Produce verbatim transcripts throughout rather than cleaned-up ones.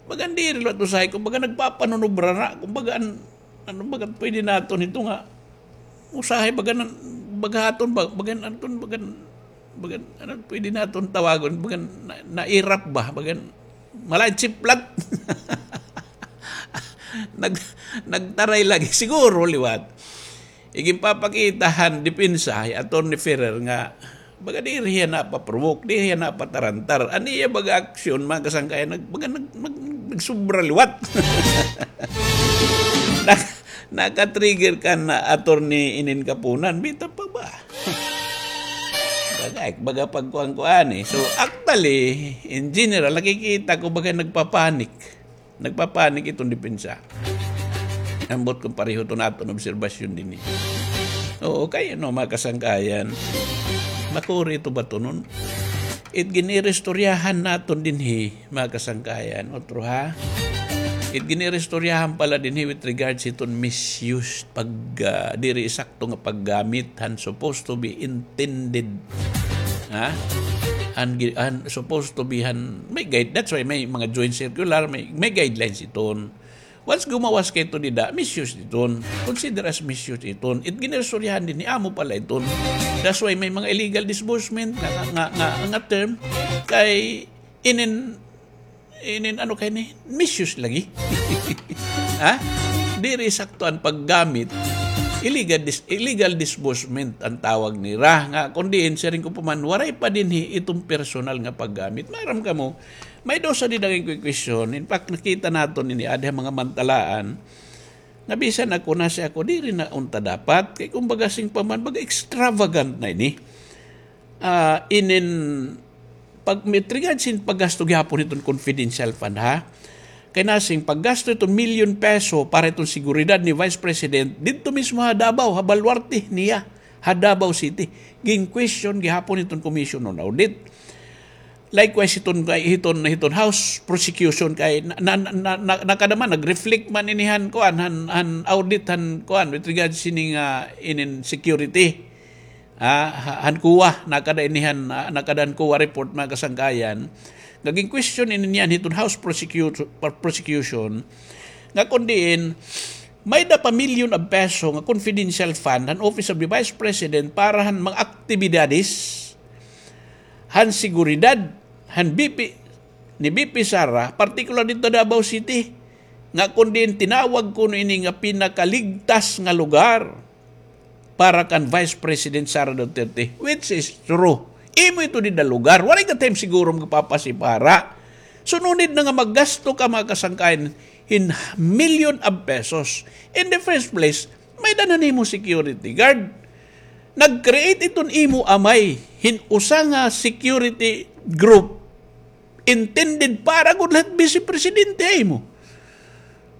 Bagan diri liwat usahay, kumbaga nagpapanunubra na, kumbaga an, ano, bagan pwede naton ito nga, usahay, bagan, bagan aton, ba-, bagan aton, bagan, bagan, ano, pwede naton tawagon, bagan na, nairap ba, bagan, malay chiplat. Nag-, nagtaray lagi, siguro liwat. Iginpapakita han depensa hi Attorney Ferrer nga baga diri hiya napaprovoke, diri hiya napatarantar. An iya baga aksyon, mga kasangkayan, nag-, baga nag-, nag-, nagsobra liwat. Nak-, nakatrigger kan Attorney inin kapunan, bitaw pa ba? Baga, baga pagkuan-kuan, eh. So, actually, in general, nakikita ko baga nagpapanik. Nagpapanik iton depensa. Ambot kon pareho iton aton obserbasyon dinhi. Oo, kay ano, mga kasangkayan, makuri ito batonon. It giniristoryahan naton dinhi, mga kasangkayan, utro ha. It giniristoryahan pala dinhi with regards iton misuse, pag, ah, diri sakto nga paggamit han supposed to be intended. Ha? Han gi-, han supposed to be han, may guide, that's why may mga joint circular, may, may guidelines iton. Once gumawas ka ito dida, misuse iton. Consider as misuse iton. It giniristoryahan dinhi, amo pala iton. That's why may mga illegal disbursement nga, nga, nga, nga term kay inin, inin ano kay ni, misuse lagi. Ha? Diri sakto an paggamit. Illegal dis-, illegal disbursement an tawag nira. Nga, kon diin, siring ko pa man, waray pa dinhi iton personal nga paggamit. Maaram kamo, may dusa dida nga question. In fact, nakita naton ini, adi ha mga mantalaan. Nga bisan ako, nasi ako, diri na unta dapat. Kay kumbaga, siring pa man, baga extravagant na ini. Ah, inin pag-, with regards hin paggasto gihapon hiton confidential fund, ha? Kay nasiring paggasto hiton milyon peso para hiton seguridad ni Vice President didto mismo ha Davao, ha baluarte niya, ha Davao City. Gin-question gihapon hiton Commission on Audit. Likewise, hiton, kay hiton, hiton House prosecution kay na, na, na, na, nakada man, nag-reflect man ini han, kuan, han, han audit han, kuan, with regards hini nga inin security. Ah, ha-, han COA, nakada ini han, ah, nakada han COA report, mga kasangkayan. Nga gin-question ini niyan hiton House prosecutor, prosecution, nga kon diin, may-ada pa milyon of peso nga confidential fund han Office of the Vice President para han mga aktibidades han seguridad han V P, ni V P Sara, partikular didto Davao City, nga kon diin tinawag kuno ini nga pinakaligtas nga lugar para kan Vice President Sara Duterte, which is true. Imo ito dida lugar. Waray ka time siguro magpapasipara. So, no need na nga maggasto ka, mga kasangkayan, hin milyon of pesos. In the first place, may-ada na nimo security guard. Nag-create iton imo amay hin usa nga security group intended para gud la hit Vice Presidente ha imo.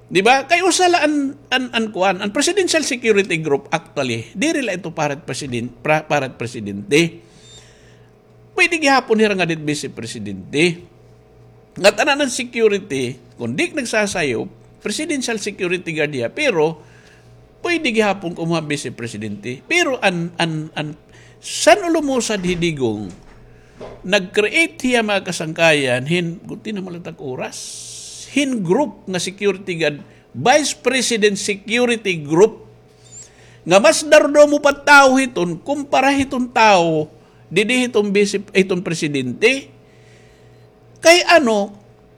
Di ba? Kay usa la an, an, an kuan, an Presidential Security Group, actually, diri la ito para hit presiden-, pra-, para hit presidente. Pwede gihapon hira nga hit Vice Presidente. Ngatanan an security, kon di ka nagsasayop, Presidential Security Guard hiya, pero pwede gihapon kumuha Vice Presidente. Pero an, an, an, san-o lumusad hi Digong, nag-create hiya, mga kasangkayan, hin, guti na malatag oras, hin group nga security guard, Vice President Security Group, nga mas darudomo pa tawo hiton kumpara hiton tawo didi hiton bisi-, hiton presidente. Kay ano,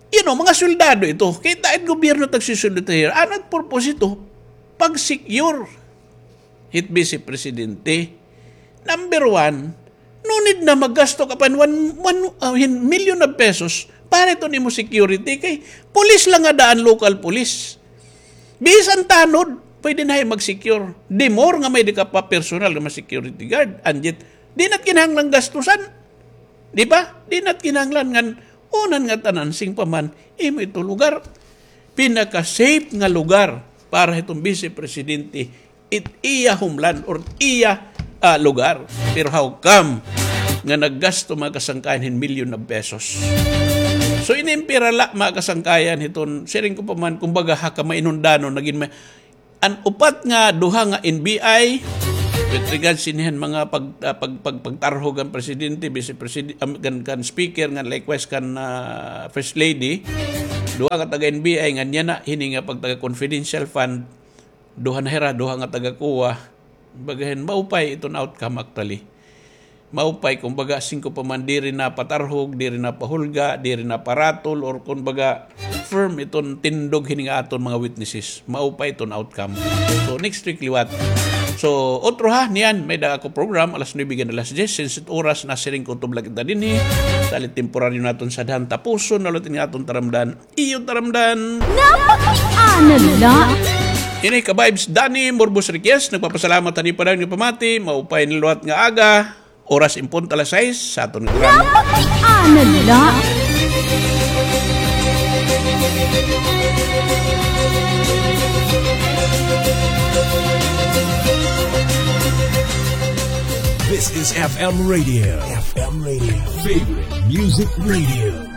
you know, mga soldado ito. Kita it gobyerno tagsusulit here. Ano it purpose ito? Pag-secure hit Vice Presidente. Number one, no need na maggasto ka pa hin one, one, ah, hin million of pesos para iton imo security kay pulis la ngada an local police. Bisan tanod, pwede na hiya mag-secure. The more nga may-ada ka pa personal nga mga security guard, and yet, di na it kinahanglan gastusan. Di ba? Di na it kinahanglan ngan unan ngatanan, siring pa man, imo ito lugar. Pinaka-safe nga lugar para hiton Vice Presidente, it iya homeland or iya, ah, lugar. Pero how come nga naggasto, mga kasangkayan, hin million of pesos? So, inimpira la, mga kasangkayan, hiton, siring ko pa man, kumbaga, ha kamainundanon, nagin ma-, an upat nga duha nga N B I, With regards hini han mga pag-, ah, pag-, pag-, pagtarhog han presidente, vice president, um, kan, kan speaker, ngan likewise kan, ah, first lady, duha ka taga N B I ngan yana, hini nga pagtaga confidential fund, duha na hira, duha nga taga COA. Baga hin, maupay iton outcome actually. Maupay, kumbaga, singko pa man diri na patarhog, diri na pahulga, diri na paratol, or kumbaga, firm iton tindog hini nga aton mga witnesses. Maupay iton outcome. So, next week liwat. So, otro ha, niyan, may-ada ako program, alas nuebe hanggan alas diyes, since it oras, nasiring ko, tublag kita dinhi. Dali temporaryo naton sadhan, tapuson na liwat ini nga aton taramdan. Iyo taramdan. Napakiana la. Ini ka-vibes, Danny Morbos Riquez, nagpapasalamat han padayon nga pamati, maupay na liwat nga aga. Oras in punto alas sais sa aton nga programa. Napakiana la. This is F M Radio. F M Radio. Favorite Music Radio.